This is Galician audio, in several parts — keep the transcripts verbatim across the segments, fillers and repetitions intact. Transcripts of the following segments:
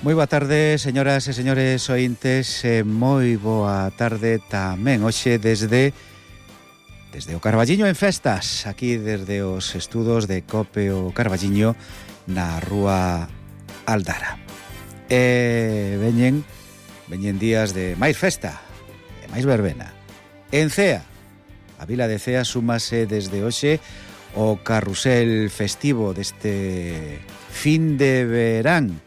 Moi boa tarde, señoras e señores ointes, e moi boa tarde tamén hoxe desde desde o Carballiño en festas, aquí desde os estudos de Cope o Carballiño na rúa Aldara. E veñen veñen días de máis festa, de máis verbena. En Cea, a vila de Cea súmase desde hoxe o carrusel festivo deste fin de verán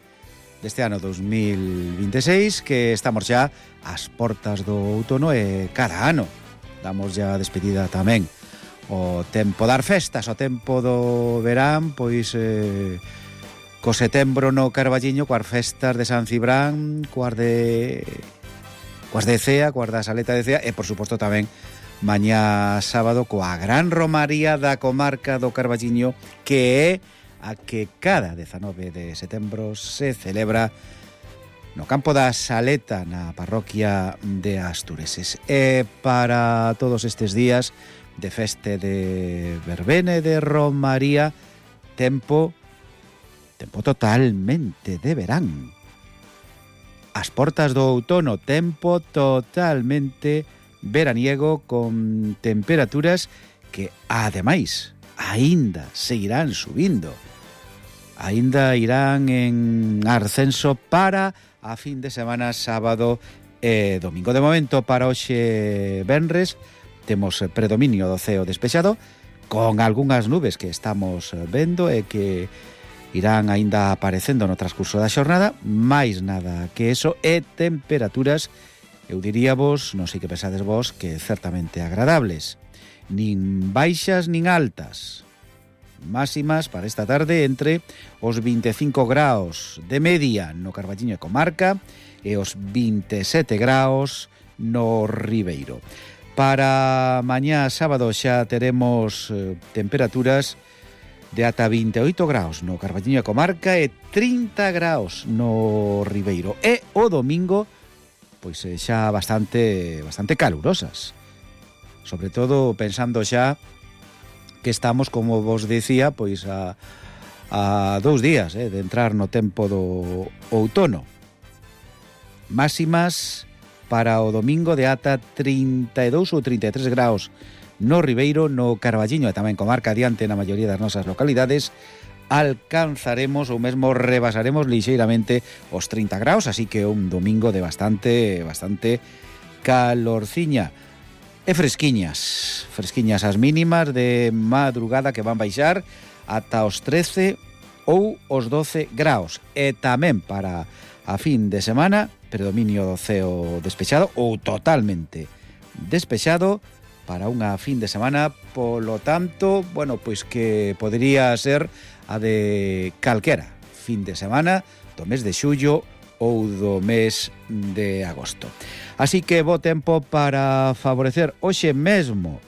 deste ano dos mil veintiséis, que estamos xa ás portas do outono e cada ano damos ya despedida tamén o tempo dar festas, o tempo do verán, pois eh, co setembro no Carballiño, coas festas de San Cibrán, coas de coas de Cea, coas da Saleta de Cea e por suposto tamén mañá sábado coa gran romaría da comarca do Carballiño, que é a que cada dezanove de setembro se celebra no campo da Saleta, na parroquia de Astureses. E para todos estes días de feste de verbena e de romaría, tempo tempo totalmente de verán. As portas do outono, tempo totalmente veraniego, con temperaturas que ademais aínda seguirán subindo. Aínda irán en ascenso para a fin de semana sábado e domingo. De momento, para hoxe venres, temos predominio do ceo despexado, con algunhas nubes que estamos vendo e que irán aínda aparecendo no transcurso da xornada, máis nada que eso, e temperaturas, eu diríavos, non sei que pensades vos, que certamente agradables. Nin baixas nin altas. Máximas para esta tarde entre os veinticinco graos de media no Carballiño e comarca e os veintisiete graos no Ribeiro. Para mañá sábado xa teremos eh, temperaturas de ata veintioito graos no Carballiño e comarca e trinta graos no Ribeiro. E o domingo, pois eh, xa bastante bastante calurosas. Sobre todo pensando xa que estamos, como vos decía, pois a, a dous días eh, de entrar no tempo do outono. Máximas para o domingo de ata trinta e dous ou trinta e tres graos no Ribeiro, no Carballiño e tamén comarca adiante na maioría das nosas localidades. Alcanzaremos ou mesmo rebasaremos lixeiramente os trinta graos, así que un domingo de bastante, bastante calorciña. E fresquiñas, fresquiñas as mínimas de madrugada, que van baixar ata os trece ou os doce graos. E tamén para a fin de semana, predominio do ceo despexado ou totalmente despexado para unha fin de semana, polo tanto, bueno, pois que podría ser a de calquera fin de semana do mes de xullo ou do mes de agosto. Así que bo tempo para favorecer hoxe mesmo,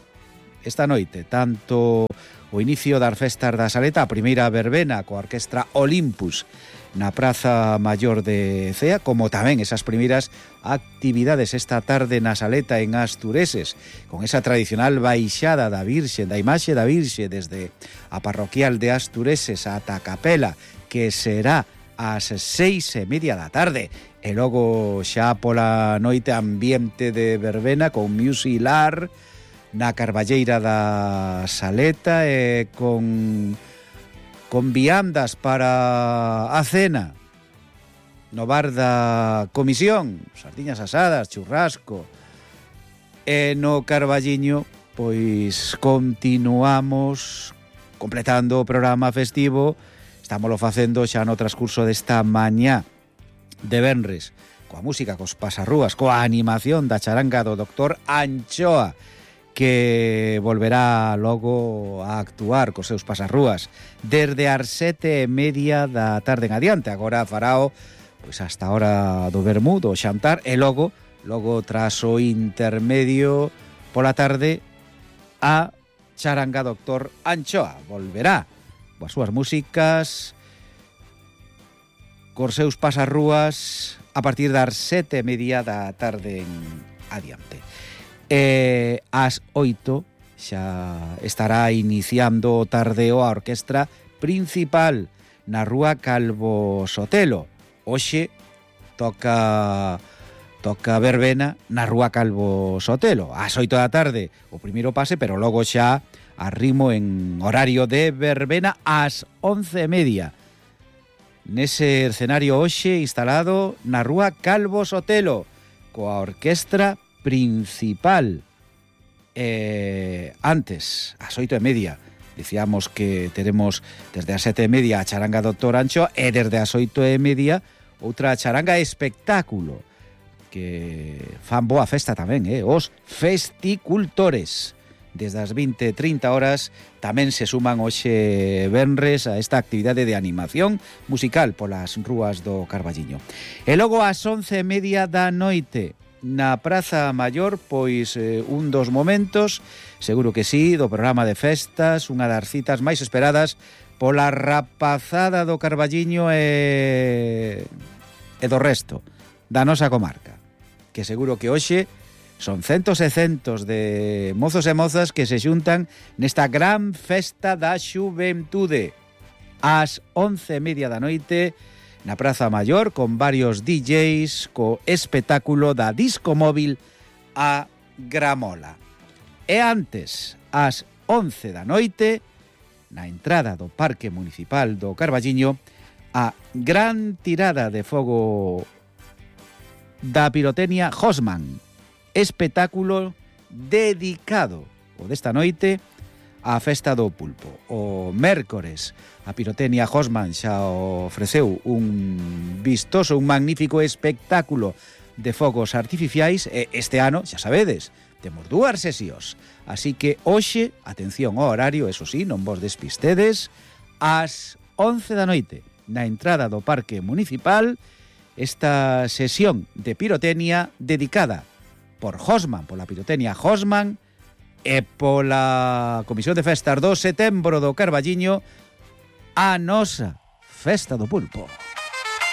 esta noite, tanto o inicio das festas da Saleta, a primeira verbena coa orquestra Olympus na Praza Maior de Cea, como tamén esas primeiras actividades esta tarde na Saleta en Astureses, con esa tradicional baixada da Virxe, da imaxe da Virxe desde a parroquial de Astureses ata a capela, que será ás seis e media da tarde, e logo xa pola noite ambiente de verbena con musilar na Carballeira da Saleta e con con viandas para a cena no bar da comisión, sardiñas asadas, churrasco. E no Carballiño pois continuamos completando o programa festivo. Estámoslo facendo xa no transcurso desta mañá de venres, coa música, cos pasarrúas, coa animación da charanga do doctor Anchoa, que volverá logo a actuar cos seus pasarrúas desde as sete e media da tarde en adiante. Agora farao pois hasta a hora do vermú, do xantar, e logo, logo tras o intermedio pola tarde, a charanga doctor Anchoa volverá coas súas músicas, cos seus pasarrúas a partir das sete e media da tarde en adiante. E ás oito xa estará iniciando o tardeo a orquestra principal na rúa Calvo Sotelo, hoxe toca toca verbena na Rúa Calvo Sotelo, ás oito da tarde o primeiro pase, pero logo xa arrimo en horario de verbena ás once e media. Nese escenario hoxe instalado na Rúa Calvo Sotelo, coa orquestra principal. Eh, antes, ás oito e media, dicíamos que teremos desde as sete e media a charanga Doctor Ancho e desde as oito e media outra charanga espectáculo que fan boa festa tamén, eh? Os festicultores. Desde as vinte e trinta horas tamén se suman hoxe venres a esta actividade de animación musical polas rúas do Carballiño. E logo ás once e media da noite na Praza Maior, pois eh, un dos momentos, seguro que sí, do programa de festas, unha das citas máis esperadas pola rapazada do Carballiño e, e do resto da nosa comarca, que seguro que hoxe son centos e centos de mozos e mozas que se xuntan nesta gran festa da xuventude ás once e media da noite na Praza Maior, con varios D Js, co espectáculo da disco móvil a Gramola. E antes, ás once da noite, na entrada do Parque Municipal do Carballiño, a gran tirada de fogo da pirotecnia Hosman, espectáculo dedicado o desta noite á festa do pulpo. O mércores a pirotecnia Hosman xa ofreceu un vistoso, un magnífico espectáculo de fogos artificiais e este ano, xa sabedes, temos dúas sesións. Así que hoxe, atención ao horario, eso sí, non vos despistedes, ás once da noite, na entrada do Parque Municipal, esta sesión de pirotecnia dedicada por Hosman, pola pirotecnia Hosman e pola Comisión de Festas do Setembro do Carballiño, a nosa Festa do Pulpo.